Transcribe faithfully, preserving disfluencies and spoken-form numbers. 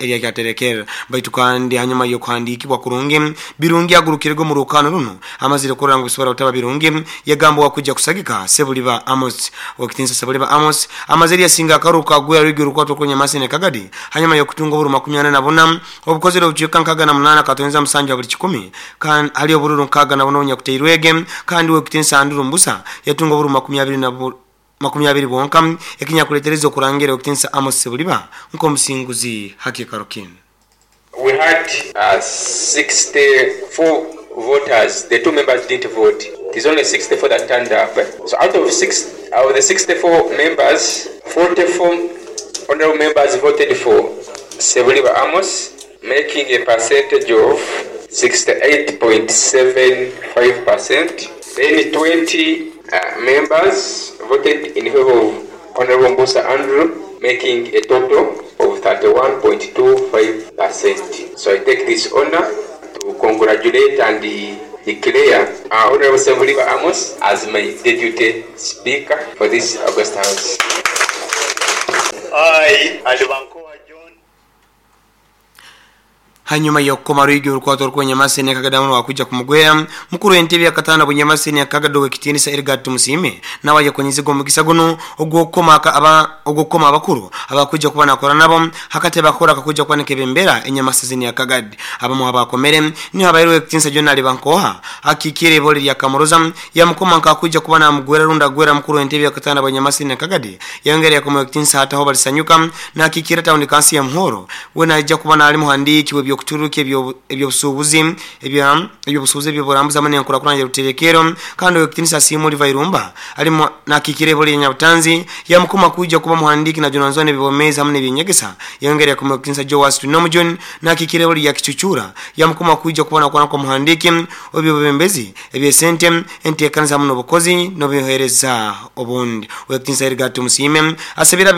Erya baitu kandi hanyuma y'okuhandiikibwa kurungi Birungi agurukirego mu rukano runo amazire kurora ngu bisobora kutaba Birungi yagamba wakujja kusagika Sebuliba Amos. Owekitinisa Sebuliba Amos amazire yasinga akaruka agwera rwigi rukwato kwa Nyamasene Kagadi hanyuma y'okutunga oburu makumi ana na buna obukozere obucweka nkaga na munana katonza musanju buli kikumi kandi ali obururu nkaga na buno nyakuteirwege kandi owekitinisa Andrew Mbusa yatunga oburu makumi abiri na makumi abiri bwonka ekinyakuletereza okurangira owekitinisa Amos Sebuliba nk'omusinguzi hakikaro kinu. We had uh, sixty-four voters. The two members didn't vote. It is only sixty-four that turned up. So out of six, out of the sixty-four members, forty-four honorable members voted for Sebuliba Amos, making a percentage of sixty-eight point seven five percent. Then twenty uh, members voted in favor of Honorable Mbusa Andrew, making a total of thirty-one point two five percent. So I take this honor to congratulate and declare uh, Honorable Sebuliba Amos as my deputy speaker for this August House. I, Alibankoa John. Hanyuma y'okukoma rwigi orukwato rw'Enyamasene Kagadamu wakuja kumugwera mukuru w'entebe yakatana Bunyamasene Kagado w'ekitinisa Edgar Tumusime nawe yakonyiziga omukisa guno ogw'okukoma aba ogw'okukoma abakuru abakuja kuba nakora nabo hakate bakora kakuja kuba nekebembera Enyamasene ya Kagadi abamu abakomere niho abairwe ekitinisa John Alibankoha akikire ibole lya Kamuroza yamukoma nkakuja kuba namugwera runda gwera mukuru w'entebe yakatana Bunyamasene Kagadi yongera yakoma ekitinisa hataho balisanyuka na akikira town council ya Muhoro we najja kuba nali muhandiki w'ebyo kuturuka ebyo ebyobusuubuzi ebya ebyobusuubuzi ebyoburambuzi amane nkurakuranya ruterekero kandi owekitinisa Simuli Vairumba alimo nakikire boli Nyabutanzi yamukoma kuja kuba muhandiki na Jonanzone bibomeza hamwe n'ebinyegesa yongera yakoma owekitinisa Joas Tunomjon nakikire boli yakichuchura yamukoma kuja kuba nakwana kwa muhandiki obyobembezi ebyesente entekanza muno bukozi n'obuhereza obundi. Owekitinisa Edgar Tumusime asabira